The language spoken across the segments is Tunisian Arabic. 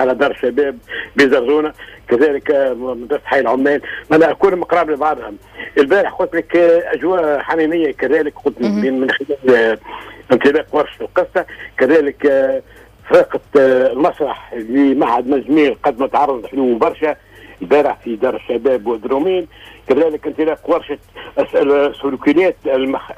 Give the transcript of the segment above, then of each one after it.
على دار الشباب بزرزونه، كذلك مدرسه حي العمال، معناها كلهم قراب لبعضهم. البارح قلت لك اجواء حميمية كذلك، قلت من خلال انطلاق ورشه القصة، كذلك فرقه المسرح لمعهد مزمير قدمت عرض حلو برشا البارح في دار الشباب ودرومين، كذلك انطلاق ورشه السلوكيات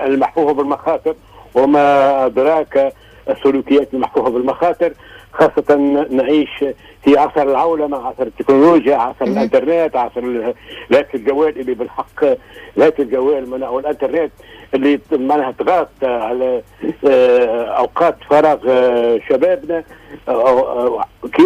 المحفوفه بالمخاطر، وما ادراك السلوكيات المحفوفه بالمخاطر، خاصة نعيش في عصر العولمة، عصر التكنولوجيا، عصر الانترنت، عصر الهاتف الجوال اللي بالحق الهاتف الجوال والانترنت اللي معناها تغاط على اوقات فراغ شبابنا،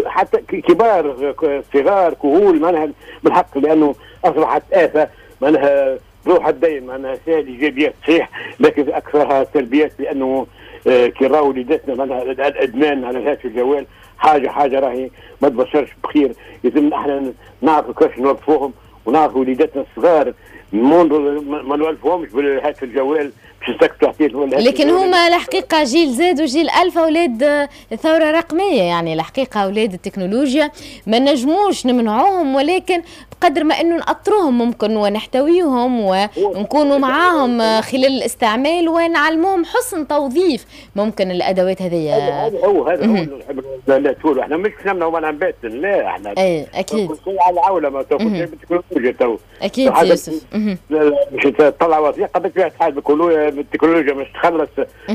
حتى كبار صغار كهول، معناها بالحق لانه اصبحت آفة معناها ذو حدين، معناها فيها ايجابيات صحيح لكن اكثرها سلبيات، لانه كي راهو وليداتنا معناها الادمان على الهاتف الجوال حاجة راهي ما تبشرش بخير. لازم احنا نعرفوا كيفاش نوظفوهم ونعرفوا وليداتنا الصغار ما نولفوهمش بالهاتف الجوال باش يسكتوا حكاية. لكن هما الحقيقة جيل زاد وجيل الفا اولاد الثورة الرقمية، يعني الحقيقة اولاد التكنولوجيا ما نجموش نمنعوهم، ولكن بقدر ما انه نأطروهم ممكن ونحتويهم ونكونوا معاهم خلال الاستعمال ونعلموهم حسن توظيف ممكن الادوات هذه. هذا هو اللي نحب احنا مش نمنعوا منعا باتا، لا احنا اي اكيد كل شيء على العولمة تو، كل شيء بالتكنولوجيا تو. اكيد يوسف، مش تطلع وثيقة بالطبيعة بالتكنولوجيا، مش تخلص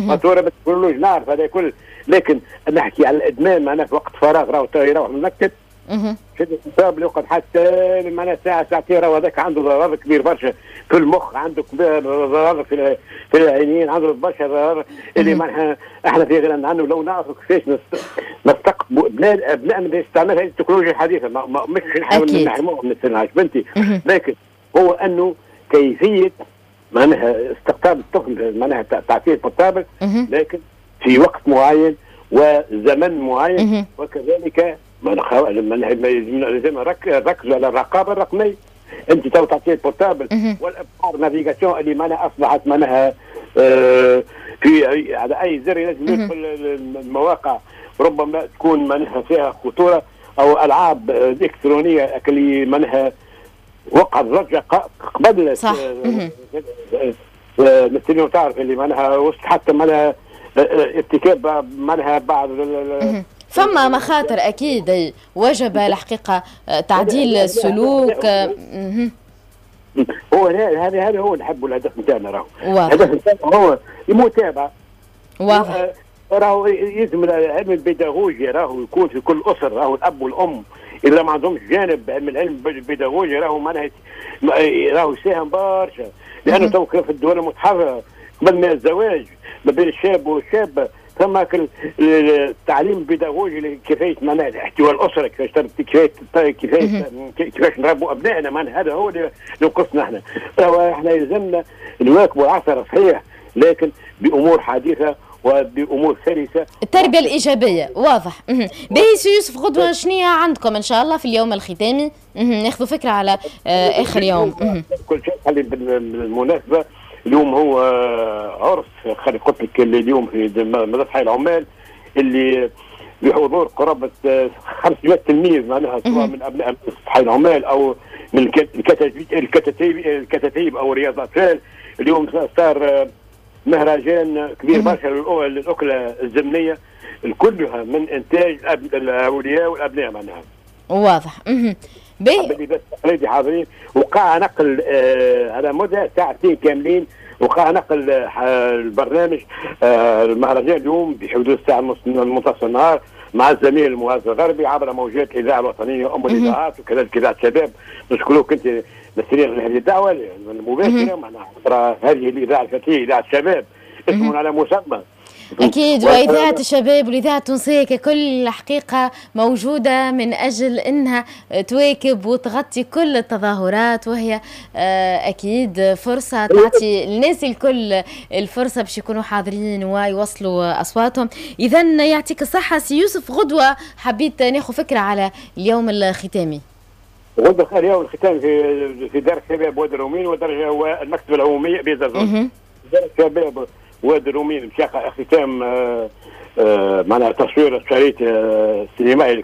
فاتورة بالتكنولوجيا، نعرف هذا كل، لكن نحكي على الادمان معناها في وقت فراغ راهو يروح من المكتب شد الحساب يقعد حتى معناها ساعة ساعتين، راهو هذاك عنده ضرر كبير برشا في المخ، عنده ضرر في العينين، عنده برشا ضرر اللي معناها احنا في غنى عنه. لو نعرفوا كيفاش نستقطبوا ابنائنا باستعمال هذه التكنولوجيا الحديثة، مش نحاول نحرموهم من السنة بنتي، لكن هو انه كيفية معناها استقطاب الطفل، معناها تعطيه portable لكن في وقت معين وزمن معين، وكذلك لازم نركزوا على الرقابة الرقمية. انت تو تعطيه ال portable والابحار navigation اللي معناها اصبحت معناها في على اي زر لازم يدخل المواقع ربما تكون معناها فيها خطورة، او العاب الكترونية اللي معناها وقعت ضجه قبل صح مثل تعرف اللي معناها وسط حتى معناها ارتكاب معناها بعض فما مخاطر اكيد، وجب الحقيقة تعديل السلوك. هو هذا هو نحبوا الهدف نتاعنا، راهو الهدف نتاعنا هو المتابعة. واضح راهو يلزم العلم البيداغوجي راهو يكون في كل اسره، راهو الاب والام اذا ما عندهمش جانب من العلم البيداغوجي راهو معناها راهو يساهم برشا، لانه تو في الدول المتحرره قبل ما الزواج ما بين الشاب والشابة ثم التعليم البيداغوجي كيفية معناها احتواء الاسرة، كيفاش نربوا ابنائنا، معناها هذا هو اللي نقصنا احنا. احنا يلزمنا نواكبوا العصر صحيح، لكن بامور حديثه وبامور سلسه، التربية الايجابية. واضح. باهي سي يوسف، غدوه شنية عندكم ان شاء الله في اليوم الختامي؟ ناخذ فكرة على اخر يوم. كل شيء خلي بالمناسبة اليوم هو عرس، خلي قلت لك اليوم في مدرسه حي العمال اللي بحضور قرابة 500 تلميذ معناها سواء من ابناء حي العمال او من الكتاتيب او رياض الاطفال. اليوم صار مهرجان كبير برشا للاكله الزمنية كلها من انتاج الاولياء والابناء معناها. واضح. باهي التقليدي حاضرين، وقع نقل على مدى ساعتين كاملين، وقع نقل البرنامج المهرجان اليوم بحدود الساعة منتصف النهار مع الزميل المعز الغربي عبر موجات الاذاعة الوطنية ام الاذاعات وكذلك اذاعة الشباب. نشكروك انت نسرين على هذه الدعوة المباشرة معنا عبر هذه الاذاعة الفتية اذاعة الشباب، اسم على مسمى. أكيد، وإذاعة الشباب والإذاعة التونسية ككل حقيقة موجودة من أجل أنها تواكب وتغطي كل التظاهرات، وهي أكيد فرصة تعطي الناس الكل الفرصة باش يكونوا حاضرين ويوصلوا أصواتهم. إذا يعطيك الصحة سي يوسف. غدوة حبيت ناخذ فكرة على اليوم الختامي. غدوة اليوم الختامي في دار الشباب وادي الرومين والمكتبة العمومية بزرزون. دار الشباب وادي الرومين باش يقع اختتام معناها تصوير الشريط السينمائي.